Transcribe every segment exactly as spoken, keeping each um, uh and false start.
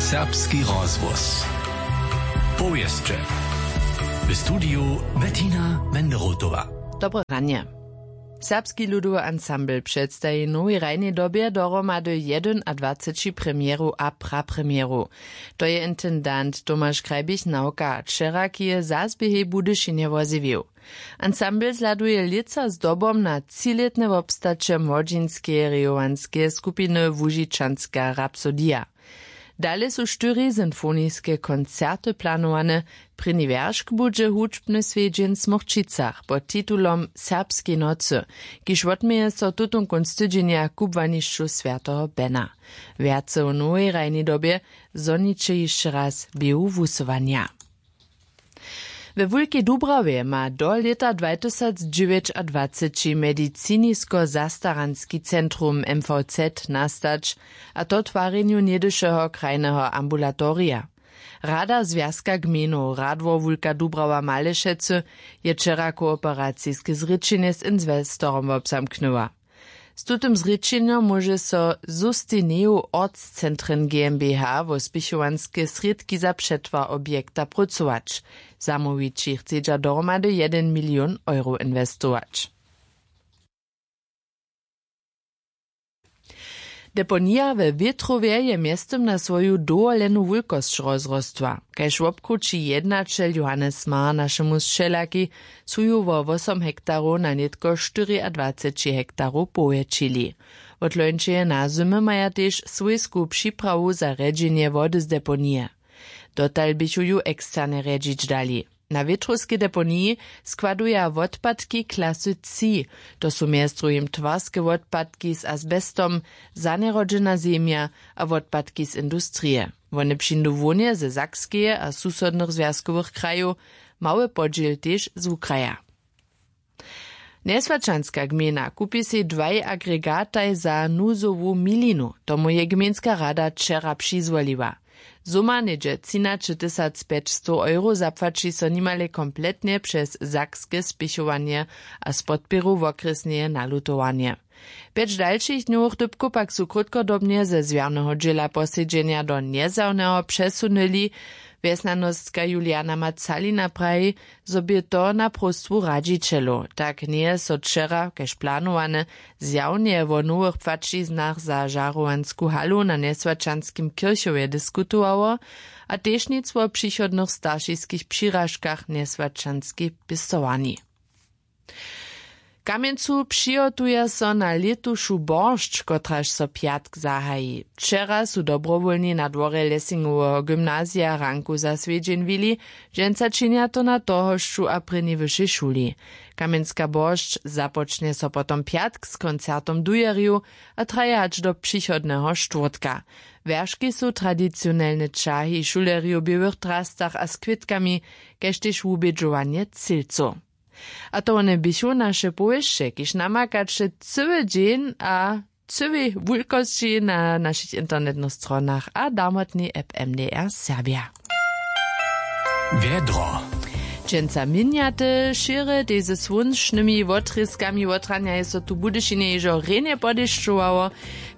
Serbski rozhłos. Powěsće. W studiju Bettina Wenderotowa. Dobre ranje. Serbski ludowy ansambl předstaji w nowej hrajnej dobje dohromady jedynadwaceći premjerow a prapremjerow. To je intendant Tomaš Krajbich nawka wčera, ki je zas běhej Budyšinje wozjewił. Ansambl zhladuje lětsa zdobom na třilětne wobstaće młodźinskeje rejowanskeje skupiny Łužičanska rapsodija. Dale su štyri sinfoniske koncerty planowane. Prěni wjeršk budźe hudźbny swjedźeń w Smokćicach pod titulom Serbskej nocy, kiž wotměje so tutón kónc tydźenja w kubłanišću swjateho Bena. Wjace w nowej hrajnej dobje zhoniće hišće raz běhu wusyłanja. We Wulkej Dubrawje ma do lěta dwatysacdźewjećadwaceći medicinisko-zastaranski centrum M V Z nastać, a to w twarjenju něhdyšeho krajneho ambulatorija. Rada Zwjazka gmejnow Radwor Wulka Dubrawa Malešecy je wčera kooperaciske zrěčenje z inwestorom wobzamknyła. Z tutym zrěčenjom móže so Sustineju Ortscentren GmbH wo spěchowanske srědki za přetwar objekta prócować. Zamołwići chcedźa dohromady jedyn milion euro inwestować. Deponija we Wětrowje je mjeztym na swoju dowolenu wulkosć rozrostła. Kaž wobkrući jednaćel Johannes Mar našemu sćelaki, su ju wo wosom hektarow na nětko štyriadwaceći hektarow powjetšili. Wot lońšeje nazymy maja tež swójsku připrawu za rjedźenje wody z deponije. Dotal běchu ju eksterne rjedźić dali. Na wětrowskej deponiji składuja wotpadki klasy tři. To su mjez druhim twarske wotpadki z asbestom, zanjerodźena zemja a wotpadki z industrije. Wone přińdu hłowneje ze Sakskeje a susodnych zwjazkowych krajow, mały podźěl tež z wukraja. Njeswaćanska gmejna kupi sej dwaj agregataj za nuzowu milinu. Tomu je gmejnska rada wčera přizwoliła. Zuma něhdźe třinaće tysac pjećstow euro zapłaći so nimale kompletnje přez sakske spěchowanje a z podpěru wokrjesneje nalutowanje. Pjeć dalšich dnjowych dypkow pak su krótkodobnje ze zwjarneho dźěla posedźenja do njezjawneho přesunyli. Wjesnjanostka Juliana Macalina praji, zo bě to na próstwu radźićelow. Tak njeje so wčera kaž planowane zjawnje wo nowych płaćiznach za žarowansku halu na njeswaćanskim kěrchowje diskutowało, a tež nic wo přichodnych staršiskich přiražkach njeswaćanskej pěstowarni. W Kamjencu přihotuja so na lětušu boršć, kotraž so pjatk zahaji. Wčera su dobrowólni na dworje Lessingoweho gymnazija ranku za swjedźeń wili. Dźensa činja to na tohošću a prěni wyšej šuli. Kamjenska boršć započnje so potom pjatk z koncertom dujerjow a traje hač do přichodneho štwórtka. Wjerški su tradicionelne ćahi šulerjow w běłych drastach a z kwětkami, kaž tež wubědźowanje cylcow. A to wone běchu naše powěsće, kiž namakaće cyły dźeń a cyłej wulkosći na našich internetnych stronach a damotnej app M D R Serbja. Wjedro. Dźensa měnjate šěry, tež ze słónčnymi wotrězkami. Wotranja je so tu w Budyšinje hižo rjenje podešćowało.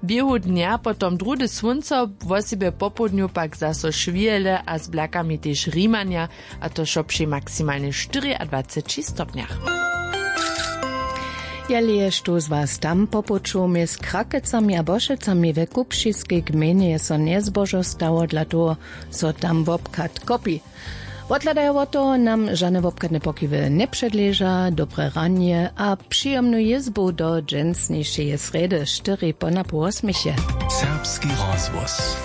Běhu dnja potom druhdy słónco, wosebje popołdnju pak zaso šwěle a z blakami tež rimanja, a to wšo při maksimalnje štyriadwaceći stopnjach. Jeli je štó z was tam popočoł mjez Krakecami a Bošecami, we Kupšiskej gmejnje je so njezbožo stało, dla toho so tam wobchad kopi. Wothladajo wot toho nam žane wobchadne pokiwy njepředleža. Dobre ranje a přijomnu jězbu do dźensnišeje srjedy štyri ponapoł wosměch je. Serbski rozhłos.